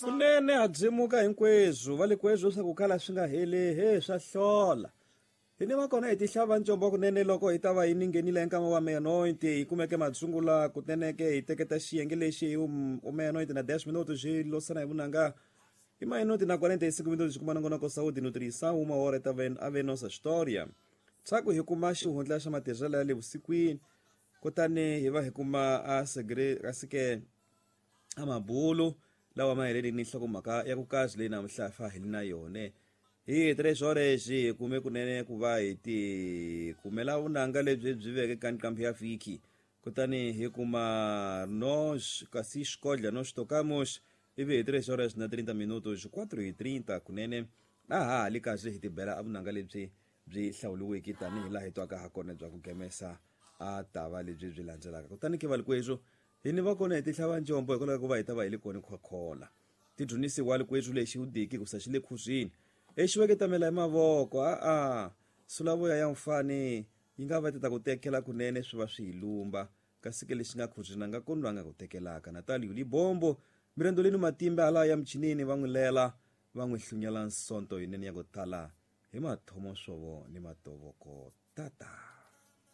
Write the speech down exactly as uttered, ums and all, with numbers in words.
Kunene ha byemuka hinkweswo va le kweswo swa ku kala swi nga heli he swa hlola. Hi ni va kona hi tihlava ncombo kunene loko hi ta va hi ninghenile nkama wa meia-noite hi kumeke matsungula kunene ke hi teketa xiyenge lexi hi u meia-noite na dez minutos xi losana hi vunanga i meia-noite na quarenta e cinco minutos kuma nongonoko Saúde e Nutrição uma hora ta ven a nossa história. Tshaku hi kuma xihundla xa matirhelo ya le vusikwini kutani hi va hi kuma a segre kasi ke a mabulu lawa ma heleli ni nhlokomhaka ya ku kazi leyi namuntlha fa hi li na yone. Hi tres horas hi kume kunene ku va hi ti kumela vunanga lebyi byi veke ka nqambi ya vhiki kutani hi kuma nos kasi xikodla nos tocamos ivi hi tres horas na trinta minutos quatro e trinta kunene a ha ha li kahle hi tibela a vunanga lebyi byi hlawuriweke tanihi laha hi twaka ha kona bya ku gemesa a tava lebyi byi landzelaka. Kutani ke valikwethu hi ni va kona hi tihlava njombo hikwalaho ka ku va hi ta va hi le kona khwakhwala tidyonisiwa likwethu lexi u diki ku sa xi le khuzwini exiweketamela hi mavoko a-a sulavoya ya mfani yi nga va ti ta ku tekela kunene swi va swi hi lumba kasi ke lexi nga khuzwini a nga koni loyi a nga ku tekelaka. Natalio Libombo mirendoleni matimba hala ya michinini va n'wi lela va n'wi hlunyela nsonto yinene ya ku tala hi mathomo swovo ni matovoko tata.